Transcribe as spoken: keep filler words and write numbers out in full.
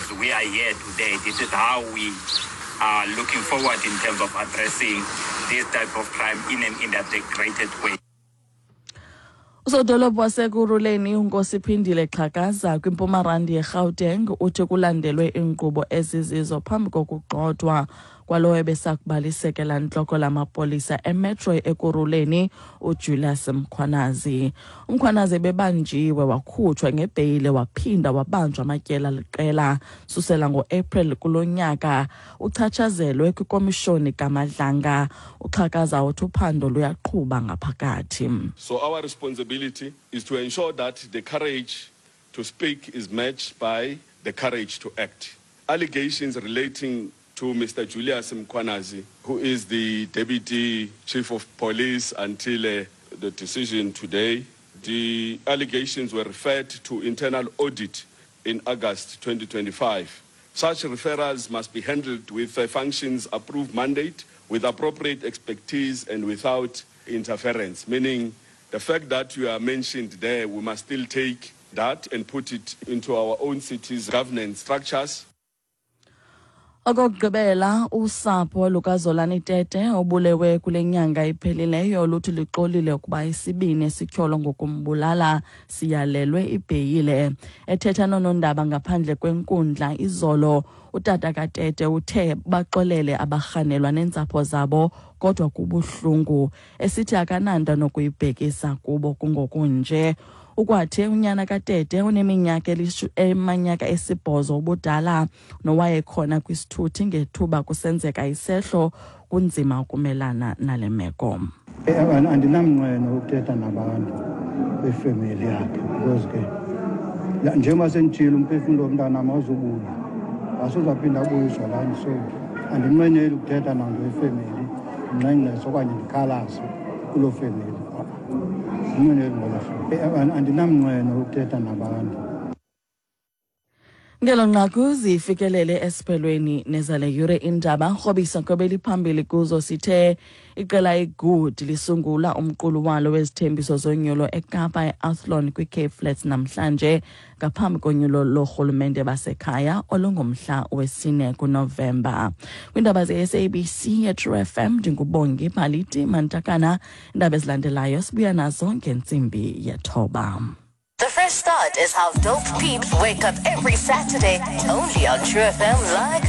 As we are here today, this is how we are looking forward in terms of addressing this type of crime in an integrated way. Usodolophu waseKurhuleni uNkosiphindile Xhakaza kwiMpuma yeGauteng uthi kulandelwe iinkqubo ezizizo phambi kokugxothwa kwalowo ebesakuba lisekela ntloko lamapolisa eMetro Ekurhuleni uJulius Mkhwanazi. UMkhwanazi ebebanjiwe wakhutshwa ngebheyile waphinda wabanjwa amatyela liqela susela ngoApril kulo nyaka uchatshazelwe kwikomishoni kaMadlanga. UXhakaza uthi uphando luyaqhuba ngaphakathi. So our responsibility is to ensure that the courage to speak is matched by the courage to act. Allegations relating to Mr. Julius Mkhwanazi, who is the deputy chief of police until uh, the decision today, the allegations were referred to internal audit in August twenty twenty-five. Such referrals must be handled with a functions approved mandate, with appropriate expertise and without interference, meaning the fact that you are mentioned there, we must still take that and put it into our own city's governance structures. Okokugqibela, usapho lukaZolani Tete obulewe kule nyanga iphelileyo luthi lixolile ukuba isibini esityholwa ngokumbulala siyalelwe ibheyile. Ethetha noonondaba ngaphandle kwenkundla izolo, utata kaTete uthe baxolele abarhanelwa neentsapho zabo kodwa kubuhlungu, esithi akananto nokuyibhekisa kubo kungokunje. Ukwathe unyana kaTete oneminyaka emanyaka esibhozo ubudala nowayekhona kwisithuthi ngethuba kusenzeka isehlo kunzima ukumelana nale meko. Andinamnqweno ukuthetha nabantu befemeli yakhe because ke njengoba senditshilo umphefumlo womntanam awuzubuya, asuzaphinda abuyiswa lani, so andinqweneli ukuthetha nanto yefemeli ndingxengxeze okanye ndikhalaze kuloo femeli. Andinamnqweno ukuthetha nabantu. Ngelo nqaku zifikelele esiphelweni nezale yure indaba. Rhobisa nkobeli phambili kuzo sithe iqela iGood lisungula umqulu walo wezithembiso zonyulo eKapa eAthlone kwiCape Flats namhlanje ngaphambi konyulo lorhulumente basekhaya olungomhla wesine kuNovemba. Kwiindaba ze-S A B C eTrue F M ndingubongi Phaliti Mantakana. Iindaba ezilandelayo sibuya nazo ngentsimbi yethoba. The Fresh Start is how dope peeps wake up every Saturday, only on True F M like